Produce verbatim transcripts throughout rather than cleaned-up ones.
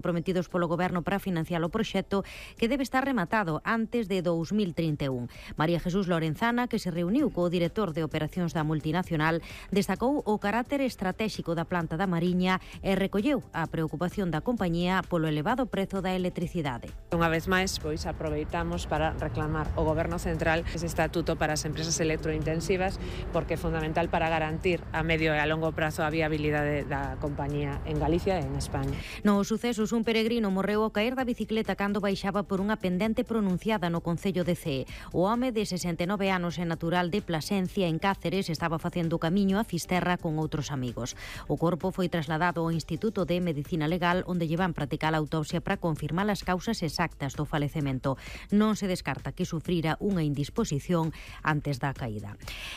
prometidos polo Goberno para financiar o proxecto, que debe estar rematado antes de dous mil trinta e un. María Jesús Lorenzana, que se reuniu co director de operacións da multinacional, destacou o carácter estratéxico da planta da Mariña e recolleu a preocupación da compañía polo elevado prezo da electricidade. Unha vez máis, pois aproveitamos para reclamar ao Goberno Central ese estatuto para as empresas electrointensivas, porque é fundamental para garantir a medio e a longo prazo a viabilidade da compañía en Galicia e en España. Nos sucesos, un peregrino morreu ao caer da bicicleta cando baixaba por unha pendente pronunciada no concello de Cee. O home de sesenta e nove anos e natural de Plasencia, en Cáceres, estaba facendo o camiño a Fisterra con outros amigos. O corpo foi trasladado ao Instituto de Medicina Legal, onde llevan practicar a autopsia para confirmar as causas exactas do falecemento. Non se descarta que sufrira unha indisposición antes da caída.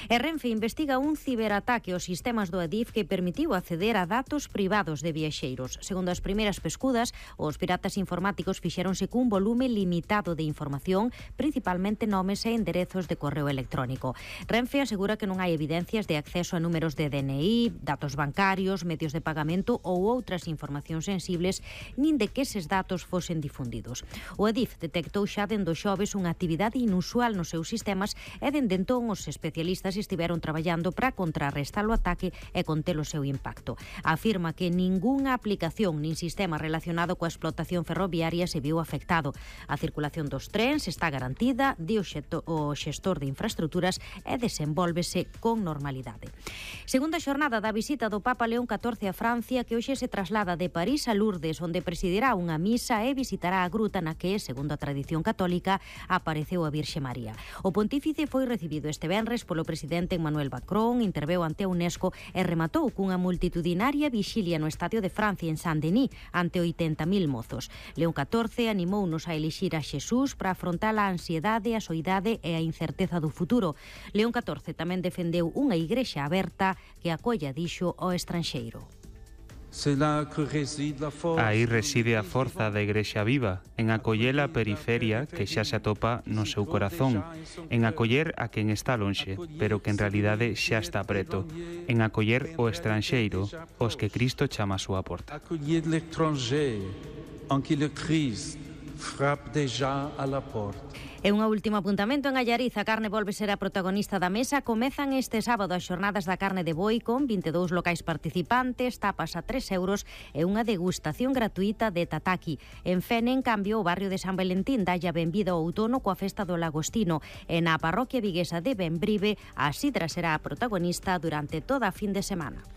E Renfe investiga un ciberataque aos sistemas do Adif que permitiu acceder a datos privados de viaxeiros. Segundo as primeiras pescudas, os piratas informáticos fixéronse cun volume limitado de información, principalmente nomes e enderezos de correo electrónico. Renfe asegura que non hai evidencias de acceso a números de D N I, datos bancarios, medios de pagamento ou outras informacións sensibles, nin de que eses datos fosen difundidos. O Adif detectou xa dende o xoves unha actividade inusual nos seus sistemas e dende entón os especialistas estiveron traballando para contrarrestar o ataque e conter o seu impacto. Afirma que ningunha aplicación nin sistema relacionado coa explotación ferroviaria se viu afectado. A circulación dos trens está garantida, di o xestor de infraestructuras, e desenvólvese con normalidade. Segunda xornada da visita do Papa León catorce a Francia, que hoxe se traslada de París a Lourdes, onde presidirá unha misa e visitará a gruta na que, segundo a tradición católica, apareceu a Virxe María. O pontífice foi recibido este venres polo presidente Emmanuel Macron, interveu ante a UNESCO e rematou cunha multitudinaria vixilia no Estadio de Francia en Saint-Denis ante oitenta mil mozos. León catorce animounos a elixir a Xesús para afrontar a ansiedade, a soidade e a incerteza do futuro. León catorce tamén defendeu unha igrexa aberta que acolla, dixo, ao estranxeiro. Aí reside a forza da Igrexa viva, en acoller a periferia que xa se atopa no seu corazón, en acoller a quen está lonxe, pero que en realidade xa está preto, en acoller o estranxeiro, os que Cristo chama a súa porta. Accueillir l'étranger, en qui le Christ frappe déjà à la porte. E unha último apuntamento: en Allariz a carne volve ser a protagonista da mesa. Comezan este sábado as xornadas da carne de boi con vinte e dous locais participantes, tapas a tres euros e unha degustación gratuita de tataki. En Fene, en cambio, o barrio de San Valentín dalle a benvida ao outono coa festa do Lagostino, e na parroquia viguesa de Bembrive a sidra será a protagonista durante toda a fin de semana.